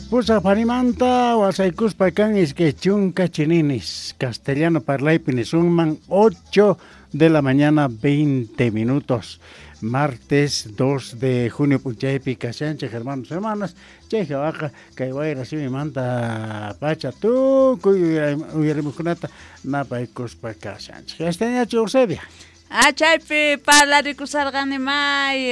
Pusaq pharimanta wasaykuspa kan 20 chininis, castellano parlaypi nisunman 8 de la mañana 20 minutos. Martes 2 de junio p'unchaypi kashanchej hermanos hermanas, chay jawaqa kay wayra simimanta pacha tukuy uyarimuqkunata napaykuspa kashanchej. Yastañachu Eusebia? Ah, chaypi parlarikusarqani may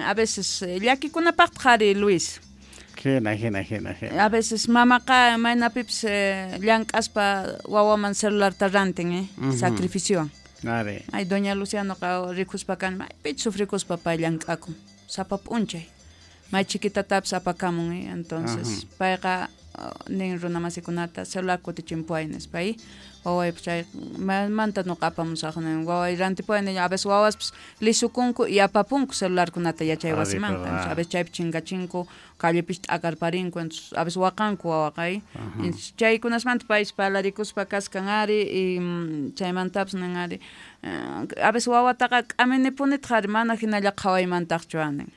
a veces llakikunapaqtaq ari Luis. Jina, jina, jina, jina. A veces mamaqa maynapipis llank'aspa wawaman celularta rantin, sacrificiowan. Ari. Ay, doña Lucianoqa rikuspa kan, maypichus sufrikuspa pay llank'akun, sapa p'unchay. May chiquitatapis apakamun, entonces payqa nin runa masikunata celular kutichimpuway nispa, wawaypis chay manta nuqa apamusaq nin, waway rantipuway nin, a veces wawaspis lisukunku y apapunku celularkunata yachay wasimanqa, entonces a veces chaypi chinkachinku, callepis t'akarparinku, entonces a veces waqanku wawaqa, entonces chaykunasmanta paypis parlarikuspa kaskan ari, y chaymantapis nin ari, a veces wawataqa k'aminipunitaq ari mana hinalla qhawaymantaqchu nin,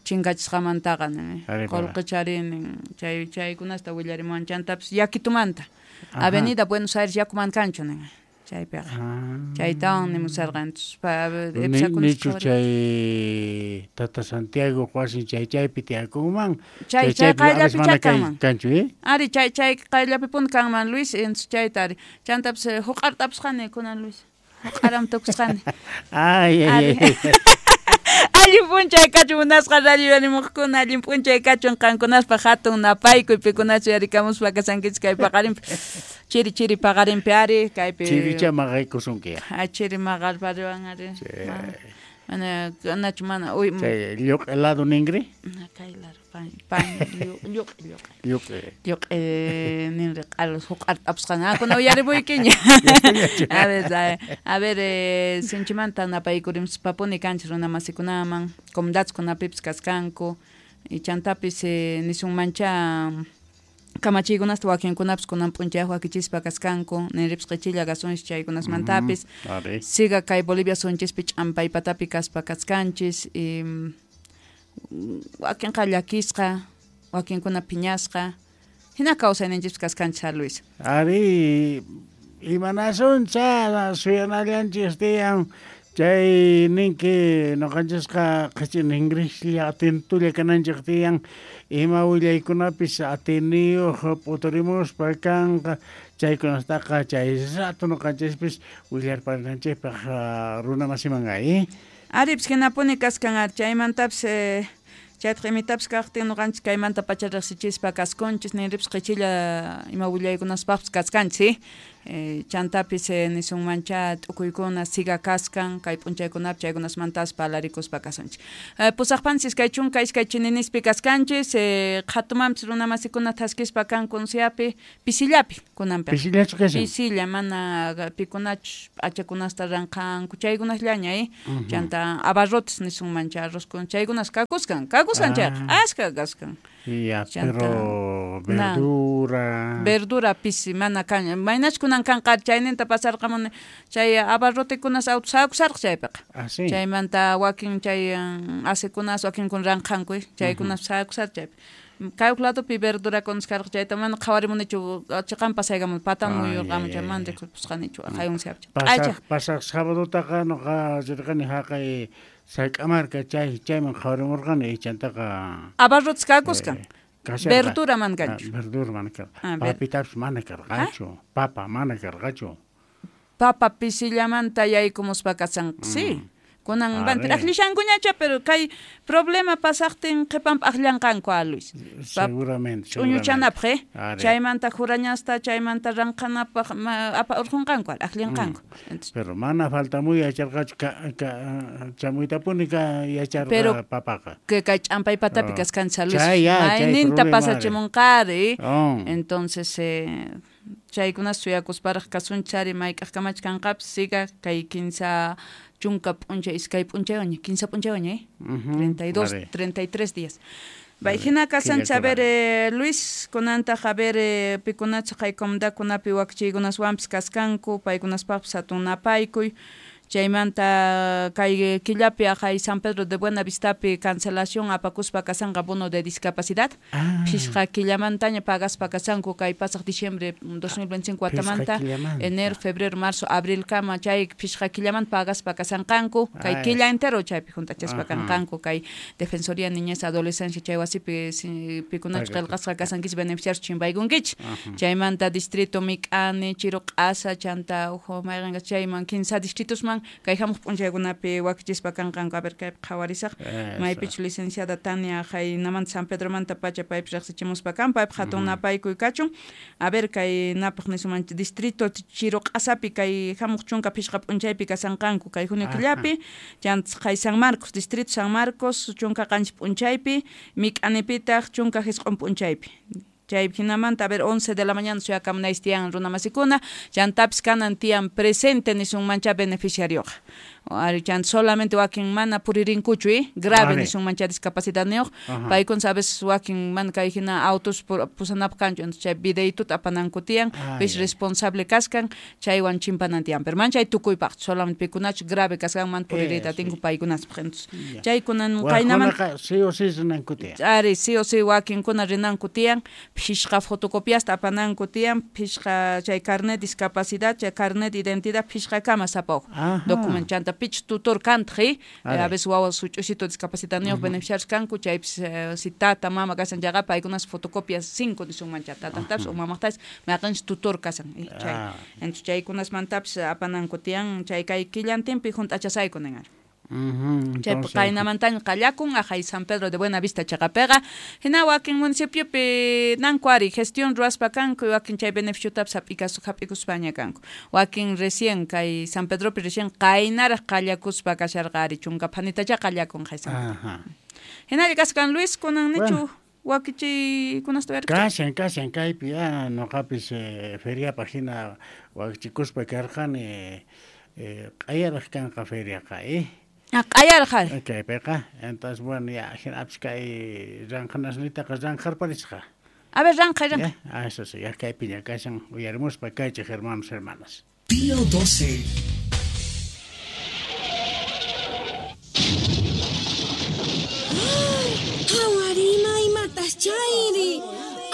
chinkachisqamantaqa nin, qolqechari nin, chay chaykunasta willarimuwan, chantapis yakitumanta, Avenida Buenos Aires yakuman kanchu nin, chaypiqa, chaytawan nimusarqa, entonces Nichu chay Tata Santiago wasin chay chaypi tiyakunman, chay chay qayllapi kanman kanchu, ari chay chay qayllapipuni kanman Luis, entonces chayta ari, chantapis huq'artapusqani kunan Luis, huq'aram tukusqani. Ay, ay, ay. Allin p'unchay kachun munasqa radio yarimuqkuna, allin p'unchay kachun qankunaspaq hatun napaykuy pikunachu yarikamuspa kasankichis kay paqarinpi, chiri chiri paqarinpi ari, kaypi. Chiricha maqaykusunki. Ah, chiri maqarpariwan ari. Mana, nachu mana, uy. Chay lluq'i lado ninri? Kay lado, pan, pan, lluq'i, lluq'i. Lluq'i. Lluq'i ninri, q'alos huq'art'apusqan. Ah, kuna uyaripuykiña. A ver, a ver, sinchimanta napaykurimspapuni kanchis runa masikunaman, comunidadkunapipis kaskanku, y chantapis nisunmancha kamachiykunasta wakinkunapis kunan p'unchayaq wakichispa kaskanku, ninripis qichilla kasunchis chaykunasmantapis. Siga kay Bolivia sunchispi ch'ampaypatapi kaspa kaskanchis, y wakinqa llakisqa, wakinkuna phiñasqa, hina kawsayninchispis kaskanchis, a Luis. Ari, imanasuncha suyanallanchis tiyan, chay ninki noqanchisqa qhichi ningrislla atentulla kananchik tiyan, ima willaykunapis atiniyuq p'uturimuspa kanqa, chaykunastaqa chay rato noqanchispis willarparinanchikpaq runa masiman ay. Aripis hinapuni kaskan ari, chaymantapis chaytaq imitapis kaqtin noqanchis kaymanta pacha riqsichispa kaskunchis, ninripis qichilla ima willaykunaspaqpis kaskanchis, chantapis nisunmancha t'ukuykuna siga kaskan kay p'unchaykunapi chaykunasmantas parlarikuspa kasunchis. Pusaqpanchis 22 chininispi kaskanchis, qhatumanpis runa masikuna thaskispa kanku unsiapi, pisillapi kunanpi. Pisillachu kashan? Pisilla, mana pikunachus p'achakunasta ranqanku chaykunasllaña, chanta abarrotes nisunmancha arrozkuna chaykunas kakuskan, kakuskan chayqa, ashka kaskan. Ya, pero verdura. Verdura pisi mana kan, maynach kunan kanqa chayninta pasarqamuni chay abarrotekunas auto sakusarqa chaypiqa. Ah, sí. Chaymanta wakin chay asikunas wakinkuna ranqanku, chaykunas sakusarqa chaypi. Kay ladopi verdurakunas karqa chayta mana qhawarimunichu, chiqan pasaykamun patan muyurqamun chay mana rikusqanichu hayunsiapi. Pasaq sabadotaqa nuqa rirqani haqay Sayk'amarka chay chayman qhawarimurqani chantaqa abarrotes kakuskan. Verdura man kanchu. Verdura mana karqa. Papitapis mana karqachu. Papa mana karqachu. Papa pisillamanta yaykumuspa kasan, sí. Kunan van aqllishankuñacha, pero kay problema pasaqtin qhipanpi aqllanqanku a Luis. Seguramente. Ch'uñuchanapaq, chaymanta jurañasta, chaymanta ranqanapaq apa urqunqanku, aqllanqanku. Pero mana faltamuy yacharqachu chamuytapuni ka yacharqa papaqa. Que kay ch'ampay patapi kaskanchis a Luis. Mayninta pasachimunqari. Entonces chaykunas suyakusparaq kasunchari mayk'aqkamach kanqapis siga kay 15 p'unchay, 2 p'unchaywaña, 15 p'unchaywaña, 32, 33 días. Bay hina kasanchis, a ver, Luis, kunantaq, a ver, pikunachu kay comunidadkunapi wakichiykunaswanpis kaskanku, paykunaspaqpis hatun napaykuy, Chaymanta kay killapi aqay San Pedro de Buenavistapi cancelación apakuspa kasanqa bono de discapacidad. Phisqa killamantaña pagaspa kasanku kay pasaq diciembre 2025 watamanta, enero, febrero, marzo, abril kama chay phisqa killamanta pagaspa kasanqanku kay killa entero chaypi juntachaspa kanqanku kay Defensoría Niñez Adolescencia chay wasipi pikunachus qillqasqa kasankichis beneficiarios chimpaykunkichis. Chaymanta distrito Mik'ani, Chiruq'asa, chanta uj mayqenqa chayman kinsa distritosman kay hamuq p'unchaykunapi wakichispa kanqanku. A ver kaypi qhawarisaq maypichus licenciada Tania haynamanta San Pedromanta pacha paypis riqsichimuspa kan, paypaq hatun napaykuy kachun. A ver kay napaq nisuman distrito Chiruq'asapi kay hamuq 15 p'unchaypi kasanqanku kay junio killapi, chanta kay San Marcos, distrito San Marcos 17 p'unchaypi, Mik'anipitaq 19 p'unchaypi. Chay jinamanta, a ver, 11 de la mañana suyakamunaysi tiyan runamasikuna, chantapis kanan tiyan presente nisunmancha beneficiarioqa. Ari chanta solamente wakin mana puririnkuchu, grave nisunmancha discapacidadniyuq, paykuna sabes wakin mana kay hina autos pusanapaq kanchu, entonces chay videituta apananku tiyan, pis responsable kaskan, chaywan chimpanan tiyan, pero man chay tukuypaq, solamente pikunachu grave kaskan man puririyta atinku paykunaspaq, entonces chaykunan qaynamanta sí o sí rinanku tiyan. Ari sí o sí wakinkuna rinanku tiyan, phishqa fotocopiasta apananku tiyan, phishqa chay carnet discapacidad, chay carnet identidad phishqa kama sapa uj documento, chanta pich tutor kantji, a veces wawa such'usito discapacidadniyuq beneficiarios kanku, chaypis si tata mama kasan chayqa paykunas fotocopias 5 nisunman chay tatajtapis o mamajtapis mayqinchis tutor kasan, chay entonces chaykunasmantapis apananku tiyan, chay kay killantinpi junt'achasayku nin ari. Chay qaynamantaña qallakun aqhay San Pedro de Buenavista chaqapiqa, hina wakin municipiopi nanku ari gestión ruwaspa kanku, wakin chay beneficiotapis hap'ikuspaña kanku, wakin recién kay San Pedropi recién qaynaraq qallakuspa kasharqa ari 10 phanitacha qallakun qhay San Pedro. Hinalla kaskan Luis kunan nichu wakichiykunasta uyarichun. Kashan kaypi noqapis feriapaq hina wakichikuspa karqani, q'ayaraq kanqa feriaqa, Q'ayaraq ari. Kaypiqa, entonces bueno ya hinapis kay ranqhanasnitaqa ranqharparisqa. A ver, ranqhay, ranqhay. Eso sí, ya kaypiña kashan uyarimuspa kaychik hermanos, hermanas. Pío 12. Hawarima imatas chayri,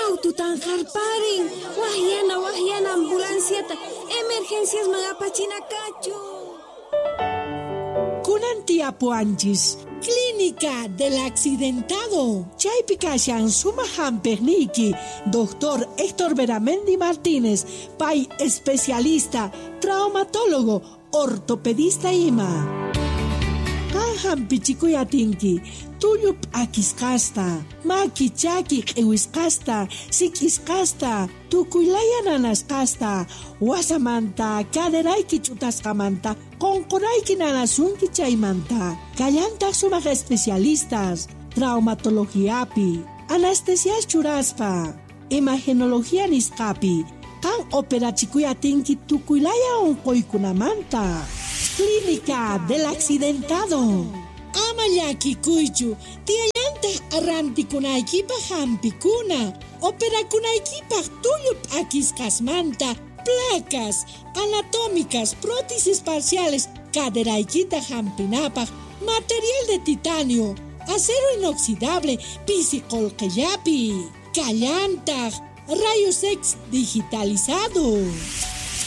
aututan harparin, wahyana ambulanciata, emergencias magapachina kachu. Kunan tiapuanchis, Clínica del Accidentado. Chaypi kashan suma hampiqniyki, Doctor Héctor Beramendi Martínez, pay especialista, traumatólogo, ortopedista ima. Qan hampichikuy atinki, tullu p'akisqasta, maki chaki q'iwisqasta, sik'isqasta, tukuylaya nanasqasta, wasamanta, caderayki ch'utasqamanta, qonqorayki nanasunki chaymanta. Kallantaq sumaq especialistas, traumatologiapi, anestesias churaspa, imagenología nisqapi, qan operachikuy atinki tukuylaya unquykunamanta. Clínica del Accidentado. Ama llakikuychu, tiyallantaq arrantikunaykipaq hampikuna, operakunaykipaq tullu p'akisqasmanta, placas anatómicas, prótesis parciales, caderaykita hampinapaq, material de titanio, acero inoxidable, pisi qolqellapi, kallantaq, rayos X digitalizado.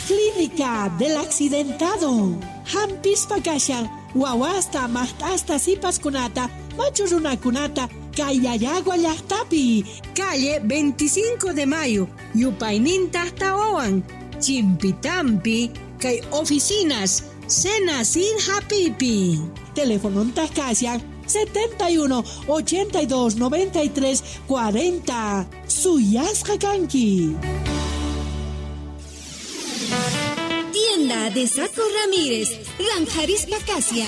Clínica del Accidentado. Hampispa kashan, wawasta, maqt'asta, sipaskunata, machu runakunata, Kayayagua llaqtapi, calle 25 de Mayo, yupayninta tawawan, Chimpitampi, kay oficinas, Senacid Hapipi. Teléfono kashan 71 82 93 40. Suyasqa kanki. Tienda de Saco Ramírez, Ranjarispa Casia.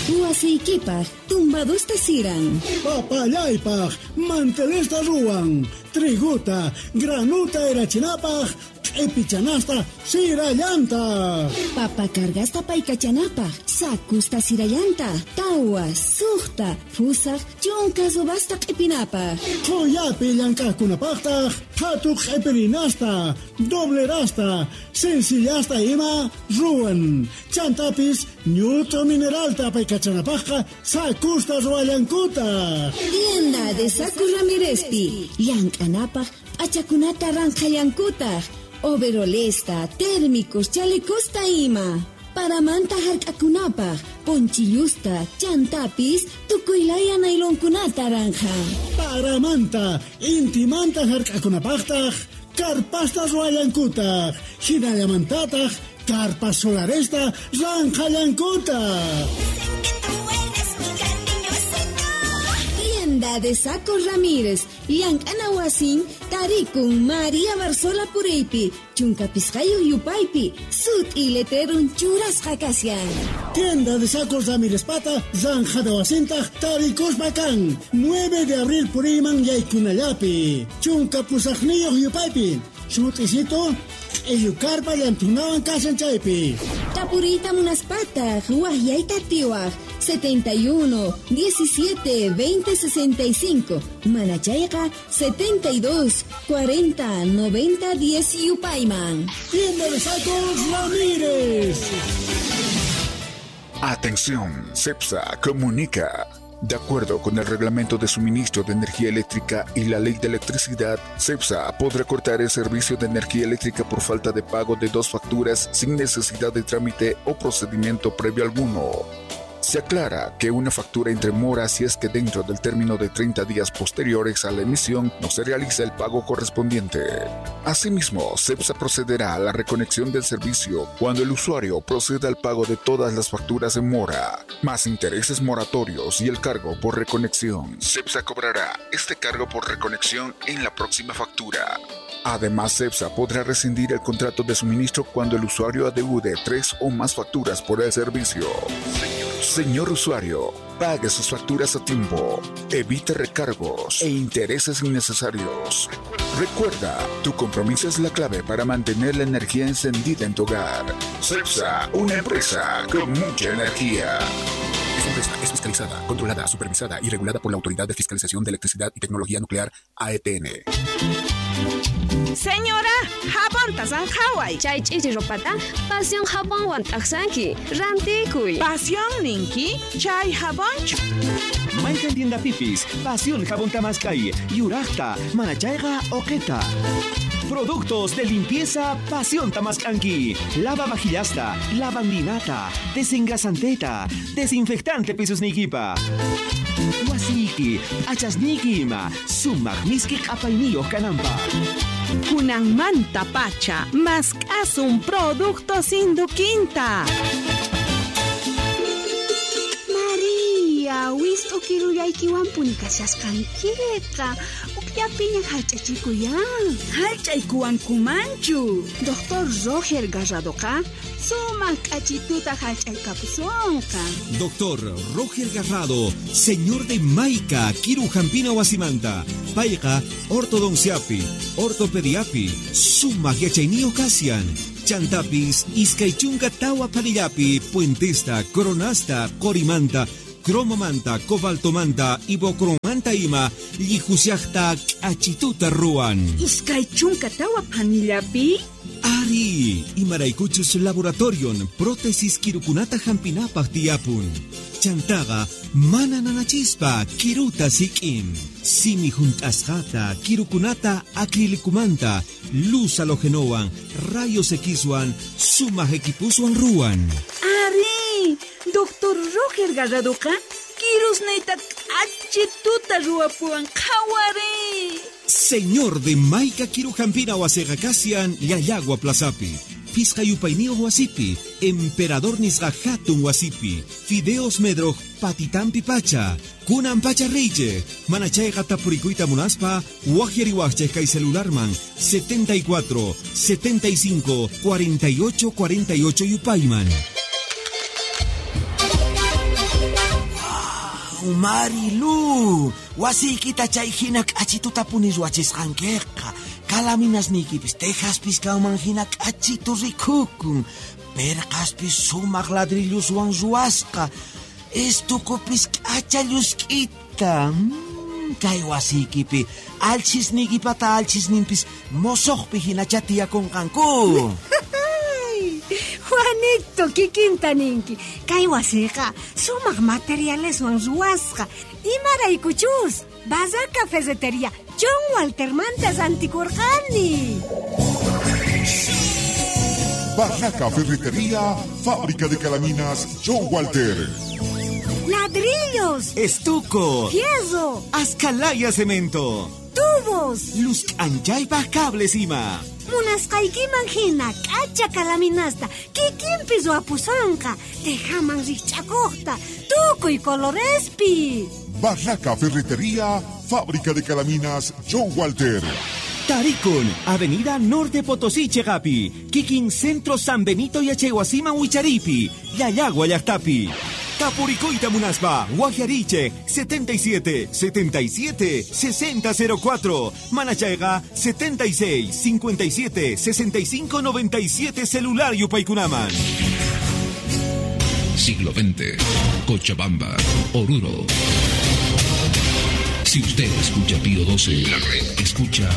Huasiykipaj, tumbadusta siran. Papallaypaj, mantelesta ruwan. Triguta, granuta erachinapaj, q'ipichanasta sirallanta. Papa cargasta paykachanapaj, sakusta sirallanta, tawa, suqta, fusaq, chunka subasta q'ipinapaj. Qhuyapi llank'aqkunapaqtaq, phatu q'ipirinasta, doblerasta, sencillasta ima ima ruwan. Chantapis ñut'u mineralta apaykachanapajqa sakusta ruwallankutaj. Tienda de Saco Ramírezpi llank'anapaj p'achakunata ranqhallankutaj. Overolesta, térmicos, chalecosta ima. Paramanta hark'akunapaj, ponchillusta, chantapis, tukuylaya nailonkunata ranqhan. Paramanta, intimanta hark'akunapajtaj, karpasta ruwallankutaj, hinallamantataj, karpas solaresta ranqhallankutaj. Tienda de Saco Ramírez, llank'ana wasin, tarikun María Barzola puriypi, chunka pisqayuq yupaypi, sut'i letrerun churasqa kashan. Tienda de Sacos Ramírez pata, zanjada wasintaj, tarikuspa kan, 9 de abril puriyman yaykunallapi, chunka pusaqniyuq yupaypi, sut'isito, q'illu karpa llantunawan kashan chaypi. Tapuriyta munaspataq, waqyayta atiwaq, 71 17 20 65, mana chayqa 72 40 90 10 yupayman. Tienda de Sacos Ramírez. Atención, CEPSA comunica. De acuerdo con el reglamento de suministro de energía eléctrica y la ley de electricidad, CEPSA podrá cortar el servicio de energía eléctrica por falta de pago de 2 facturas sin necesidad de trámite o procedimiento previo alguno. Se aclara que una factura entre mora si es que dentro del término de 30 días posteriores a la emisión no se realiza el pago correspondiente. Asimismo, CEPSA procederá a la reconexión del servicio cuando el usuario proceda al pago de todas las facturas en mora, más intereses moratorios y el cargo por reconexión. CEPSA cobrará este cargo por reconexión en la próxima factura. Además, CEPSA podrá rescindir el contrato de suministro cuando el usuario adeude 3 o más facturas por el servicio. Señor usuario, pague sus facturas a tiempo, evite recargos e intereses innecesarios. Recuerda, tu compromiso es la clave para mantener la energía encendida en tu hogar. CEPSA, una empresa con mucha energía. Esta empresa es fiscalizada, controlada, supervisada y regulada por la Autoridad de Fiscalización de Electricidad y Tecnología Nuclear, AETN. Señora, jabón tasanjaway. Chay ch'ichi ropata, pasión jabonwan t'aqsanki, rantikuy. Pasión ninki, chay jabonchu. Mayqan tienda pipis, pasión jabón tamaskay, yuraqta, manachayqa oqeta. Productos de limpieza Pasión Tamascanqui. Lava vajillasta, lavandinata, desengrasanteta, desinfectante pisusnikipa. Wasiki, achasniki ima, sumaq miski q'apayniyuq kananpaq. Kunanmanta pacha, mask'asun productos induquinta. María, wist'u kirullaykiwanpuni kashasqankiqa. Ukllapiña hallch'achikuyan. Hallch'aykuwankumanchu. Doctor Roger Garradoqa sumaq k'achituta hallch'aykapusonqa. Doctor Roger Garrado, señor de Maica, Kiru Jampina Wasimanta, payqa ortodonciapi, ortopediapi, sumaq yachayniyuq kashan. Chantapis, iskay chunka tawa panillapi, puentesta, coronasta, qorimanta, cromomanta, cobaltomanta, ibocromanta ima, llijusiaqta k'achituta ruwan. Iskay chunka tawa panillapi? Ari, imaraykuchus laboratorion, prótesis kirukunata hampinapaq tiyapun. Chantaqa, mana nanachispa, kiruta sik'in. Simi junt'asqata, kirukunata acrilicumanta, luz halogenowan, rayos Xwan, sumaq equipuswan ruwan. Ari, Doctor Roger Garradoqa, kirusniyta k'achituta ruwapuwan, qhawari. Señor de Maica Kirujampina wasiqa kashan Llallagua Plazapi, Pisqa yupayniyuq wasipi, Emperador nisqa hatun wasipi, Fideos Medroj patitampi pacha, kunan pacha riychej, mana chayqa tapurikuyta munaspa, waqyariwaqchej kay celularman 74 75 48 48 yupayman. Marilu, wasiykita chay hina k'achituta puni ruwachisqankiqa. Kalaminasniykipis tejaspis kanman hina k'achitu rikukun. Perqaspis sumaq ladrilluswan ruwasqa. Estukupis k'acha llusk'ita. Kay wasiykipi alchisniykipata alchisninpis mosoqpi hinacha tiyakunqanku. Juanito, kikinta ninki. Kay wasiqa sumaq materialeswan ruwasqa. Imaraykuchus, Barraca Ferretería John Waltermanta rantikurqani. Barraca Ferretería, fábrica de calaminas John Walter. Ladrillos, Estuco, fierro, Ascalaya cemento, tubos, Luz anchaypaj cables ima. Munasqaykiman hina k'acha kalaminasta kikinpi ruwapusonqa, tejaman rikch'akuqta, tukuy colorespi. Barraca Ferretería, fábrica de calaminas John Walter. Tarikun, Avenida Norte Potosí, Chegapi, Kikin Centro San Benito y Achehuasima Huicharipi, Yayagua Llaqtapi. Tapuricoita Munaspa, Guajariche, 77 77 6004, Manachayga, 76 57 65 97 celular Yupaykunaman. Siglo XX, Cochabamba, Oruro. Si usted escucha Pío 12, la red escucha